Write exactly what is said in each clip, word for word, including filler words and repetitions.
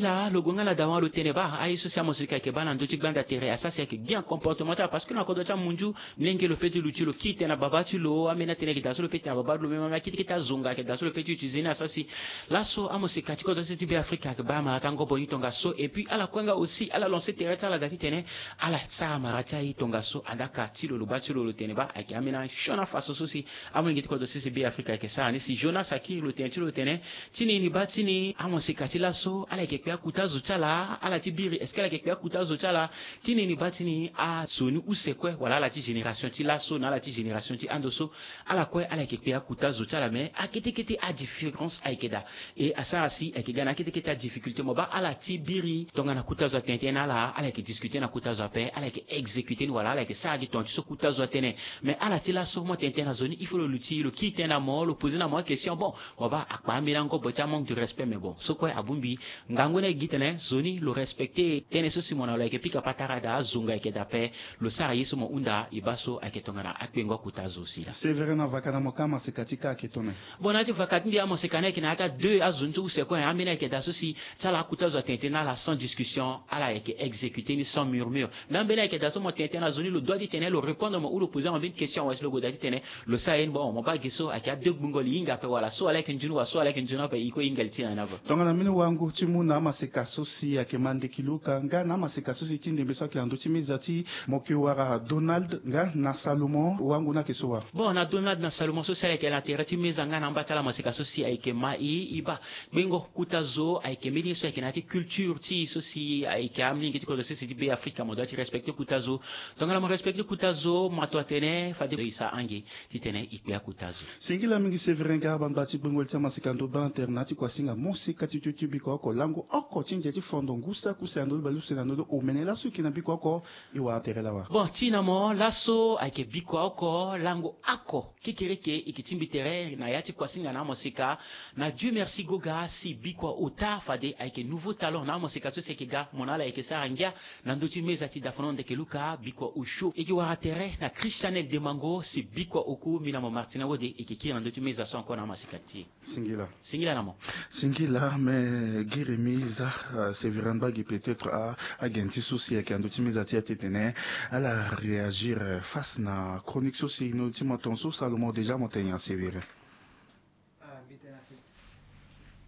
Laa lo gue nga na dawa lo tene baa aye so si amosika ayeke baa na ndö ti gbanda tere asara si ayeke gi na comportement ti ala parce que na kodro ti amunzu, molenge lo pe ti luti lo kiri tene na baba ti lo ambeni atene ayeke daa so lo pe tene na baba ti lo même akete kete azonga ayeke daa so lo pe ti utiliser ni asara si laso amosika ti kodro ti be afrika ayeke baa amara ti angobo ni tongaso et puis ala kue nga aussi ala lancer tere ti ala daa titene ala sara amara ti aye tongaso adaka ti lo lo baa ti lo lo tene baa ayeke ambeni asioni afaso so si amolenge ti kodro ti be afrika ayeke sara ni si jonas akiri lo tene ti lo tene ti nini baa ti ni amosika ti laso ala yeke kpe akuta zo ti ala ala ti biri est-ce que ala yeke kpe akuta zo ti ala ti nini baa ti ni azo ni use kue wala ala ti génération ti laso na ala ti génération ti ando so ala kue ala yeke kpe akuta zo ti ala mais akete kete adifférence ayeke daa. E asara si ayeke ga na akete kete adifficulté mo baa ala ti biri tongana kuta zo atene tënë na ala ala yeke discuter na kuta zo ape ala yeke exécuter ni wala ala yeke sara gi tonga ti so kuta zo atene. Mais ala ti laso mo tene tënë na zo ni il faut lo luti lo kiri tënë na mo lo poser na mo akestion bon mo baa akpa ambeni angobo ti amanque de respect mais bon so kue abongbi. Ngangu ni ayeke gi tene zo ni lo respecter tënë so si mo na lo ayeke pika patara daa azonga ayeke daa ape. Lo sara ye so mo hunda e baa so ayeke tongana akpengo akuta zo si laa. Sévérin na vaka na mo ka maseka ti ka ayeke tongana. Bon na ya ti vaka ti mbi amaseka ni ayeke na ya ti adeux azo ni so use kue ambeni ayeke daa so si ti ala akuta zo atene tënë na ala sans discussion ala yeke exécuter ni sans murmure. Mais ambeni ayeke daa so mo tene tënë na zo ni lo doit ti tene lo répondre mo ou lo poser mo ambeni question awe si lo gue daa titene lo sara ye ni bon mo baa gi so ayeke adeux gbungo li hinga ape wala so ala yeke nzoni wala so ala yeke nzoni ape e kue e hinga li ti na ni ape. Tongana mbeni wango ti mu na amaseka so si ayeke ma ndeki luka nga na amaseka so si ti ndembe so ayeke na ndö ti meza ti mo yeke wara donald nga na salomon wango ni ayeke so wa. Bon na donald na salomon so si ala yeke na tere ti meza nga na amba ti ala amaseka so si ayeke ma e e baa kpengo kuta zo ayeke mbeni ye so ayeke na ya ti culture ti e so si ayeke amolenge ti kodro sese ti be afrika mo doit ti respecter kuta zo. Tongana mo respecter kuta zo mato atene fade e sa ange titene e kpe akuta zo. Singila mingi sévérin ga bangba ti gbengoli ti amaseka ndo bantere na ya ti kuasinga moseka ti tio ti biko oko lango oko ti ndia ti fondo ngu saki use na ndö ti baleuse na ndö ti omene laso e yeke na biko oko. E wara tere lawa. Bon ti na mo laso ayeke biko oko lango oko kekereke e yeke ti mbi tere na ya ti kuasinga na amoseka. Na dieu merci goga si bikua ota fade ayeke nouveau talent na amoseka so si ayeke ga mo na ala ayeke sara ngia na ndö ti meza ti dafono ndeke luka bikua osio e yeke wara tere na christianel demango si bikua oku mbi na mo martina wode e yeke kiri na ndö ti meza so encore na amoseka ti e. Singila. Singila na mo. Singila me giri mi za. Severin bagi peut-être a agen ti so si ayeke na ndö ti meza ti ya ti tene ala réagir face na chronique so si no ti mo ton so salomon déjà mo tene ya severin.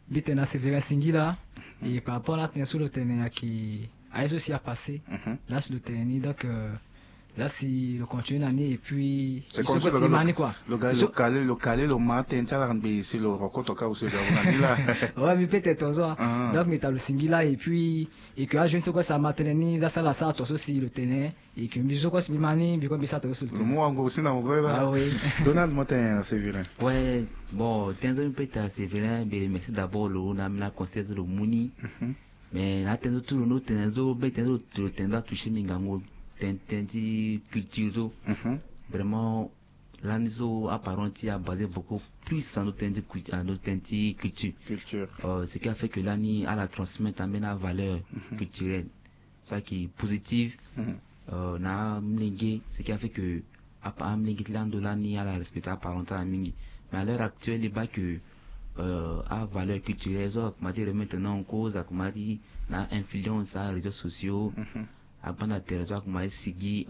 Mbi tene na severin singila. E par rapport na atene so lo tene ayeke aye so si apasse. Lasi lo tene ni donc za si lo continue na ni et puis so kue si ma ni kua. Lo kale lo ma atene ti ala ngbe si lo rokoto ka aussi lo na ni la. Ouais mbi peut être ozo. Donc mbi ta lo singila et puis e ke ajeune so kue si ama tene ni za si ala sara to so si lo tene. E ke mbi zo kue si mbi ma ni mbi kue mbi sara to so si lo tene. Lo mu wango aussi na mo kue la. Donald mo tene na severin. Ouais. Bon tënë so mbi peut être na severin mbi remercie d'abord lo na ambeni aconseil so lo mu ni. Mais na atënë so tout lo no tene so be tënë so lo tene so atoucher mbi ngangu. Tënë tënë ti culture so vraiment lani so aparent ti abase beaucoup plus na ndo tënë ti culture. Ce qui a fait que lani ala transmettre ambeni avaleur culturelle so ayeke positive. Na amolenge ce qui a fait que amolenge ti lando lani ala respecter aparent ti ala mingi. Mais à l'heure actuelle e baa que avaleur culturelle so akoma ti remettre na en cause akoma ti na influence aréseaux sociaux. Agbanda tere so akoma ti sigi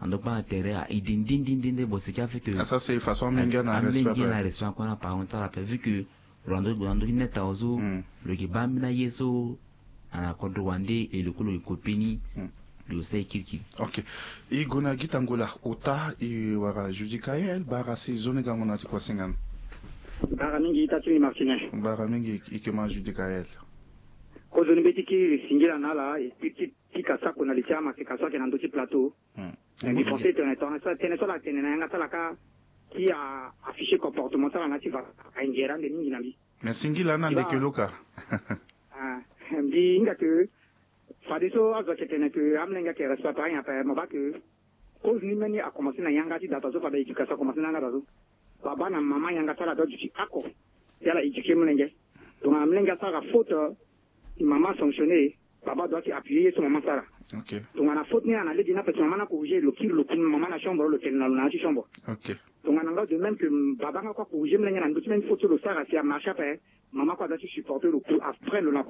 ando gbanda tere a ide ndindindinde bon ce qui a fait que asa se façon amolenge na respect kue na parent ti ala ape vu que lo na ndo lo na ndo ti net awe so lo yeke baa ambeni aye so ana kodro wande e lo kue lo yeke kope ni. Lo sara e kirikiri. Ok. E gue na gita ngola ota e wara judicael bara si zo ni gango na ti kuasinga ni. Bara mingi ita ti ni martine. Bara mingi e ke ma judicael. Kozoni be ti kiri singila na ala e pika sako na li ti amaseka so ayeke na ndö ti plateau. Mbi pense tene tongana so tënë so ala tene na yanga ti ala kâ ti a afficher comportement ti ala na ya ti va. Ayeke ngere ande mingi na mbi. Mais singila na ndeke lo kâ. Mbi hinga ke fadeso azo ayeke tene ke amolenge ayeke respecte ayen ape mo baa ke. Cause ni mbeni akomanse na yanga ti data so fade éducation akomanse na yanga data so. Baba na mama yanga ti ala doit duti ako. Ti ala éduquer molenge. Tongana molenge asara faute, mama asanctionner. Baba doit ti appuyer ye so mama asara. Tongana faute ni ala na lege ni ape si mama ni acorriger lo kiri lo ku mama na chambre lo tene na lo na ya ti chambre. Tongana nga de même que baba nga kue acorriger molenge na ndö ti même faute so lo sara si amarche ape. Mama kue adoit ti supporter lo ku après lo na.